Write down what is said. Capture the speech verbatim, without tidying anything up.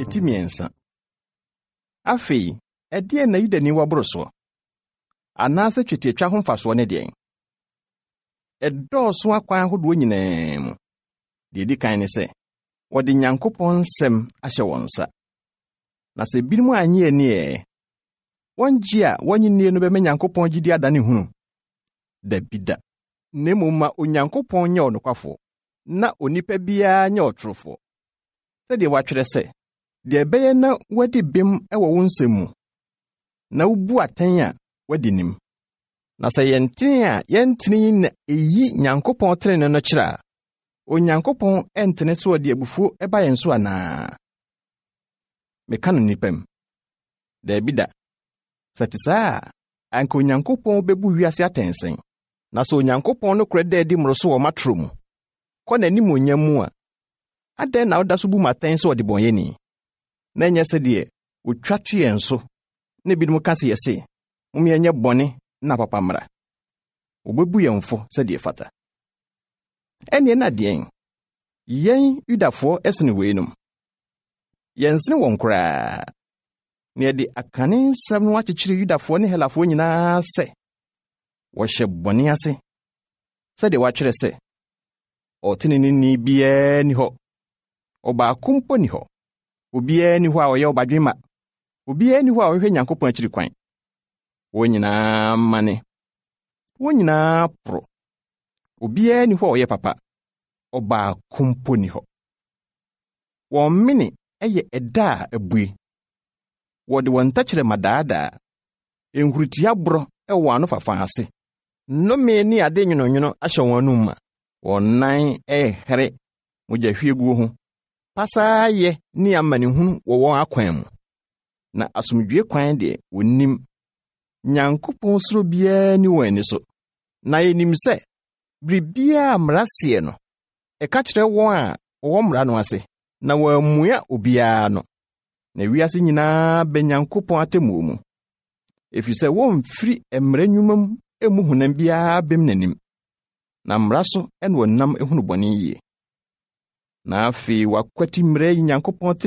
Eti mmiɛnsa. Afei, ɛdeɛn na Yudani wɔ boro soɔ? Anaasɛ twetiatwa ho mfasoɔ ne deɛn? Ɛdɔɔso akwan ahodoɔ nyinaa mu. Deɛ edi kan ne sɛ, wɔde Nyankopɔn nsɛm ahyɛ wɔn nsa. Na sɛ ebinom annye ani ɛ, wɔn gye a wɔnnye nnie no bɛma Nyankopɔn gyidi adane hunu? Dabi da. Na mmom ma Onyankopɔn nyɛ ɔnokwafoɔ, na onipa biara nyɛ ɔtorofoɔ. Sɛdeɛ wɔatwerɛ sɛ, deɛ ɛbɛyɛ na woadi bem wɔ wo nsɛm mu, na wubu atɛn a woadi nim. Na sɛ yɛn tene a yɛntene yi na eyi Nyankopɔn tenenee no kyerɛ a, Onyankopɔn ɛntene so ɔde abufuo ɛba yɛn so anaa? Meka no nnipa mu. Daabi da. Sɛ te saa a, anka Onyankopɔn bɛbu wiase atɛn sɛn? Na sɛ Onyankopɔn nokorɛ da adi mmoro so wɔ m'atoro mu, kɔ n'animuonyam mu a, adɛn na woda so bu m'atɛn sɛ ɔdebɔneyɛni? Na ɛnyɛ sɛdeɛ otwa to yɛn so na ebinom ka sɛ yɛse, mom yɛnyɛ bɔne na papa mmra. Wɔbɛbu yɛn fɔ sɛdeɛ fata. Ɛnneɛ na deɛn? Yɛn Yudafoɔ ɛsene weinom. Yɛnsene wɔn koraa. Na yɛde akane nsɛm no akyekyere Yudafoɔ ne Helafoɔ nyinaa sɛ wɔhyɛ bɔne ase. Sɛdeɛ wɔatwerɛ sɛ, ɔteneneeni biara nni hɔ, ɔbaako mpo nni hɔ. Obiara nni hɔ a ɔyɛ ɔbadwemma. Obiara nni hɔ a ɔhwehwɛ Nyankopɔn akyiri kwan. Wɔn nyinaa mane. Wɔn nyinaa poro. Obiara nni hɔ a ɔyɛ papa. Ɔbaako mpo nni hɔ. Wɔn mene yɛ ɛda a abue. Wɔde wɔn tɛkyerɛma daadaa. Nhuritia borɔ wɔ wɔn anofafa ase. Nnome ne ade nwononwono ahyɛ wɔn anom ma. Wɔn nan ɛyɛ mogyahwieguo ho. Pasaayɛ ne amanehunu wɔ wɔn akwan mu. Na asomdwoe kwan deɛ wonnim. Nyankopɔn suro biara nni wɔn ani so. Na yɛnim sɛ biribiara a mmara seɛ no, ɛka kyerɛ wɔn a wɔwɔ mmara no ase, na wɔammua obiara no. Na wiase nyinaa bɛ Nyankopɔn atemmuo mu. Ɛfiri sɛ wɔmfiri mmara nnwuma mu mmu honam biara bem n'anim. Na mmara so na wɔnam ehunu bɔne yie. Na afei wakwati mmara yi Nyankopɔn tenenee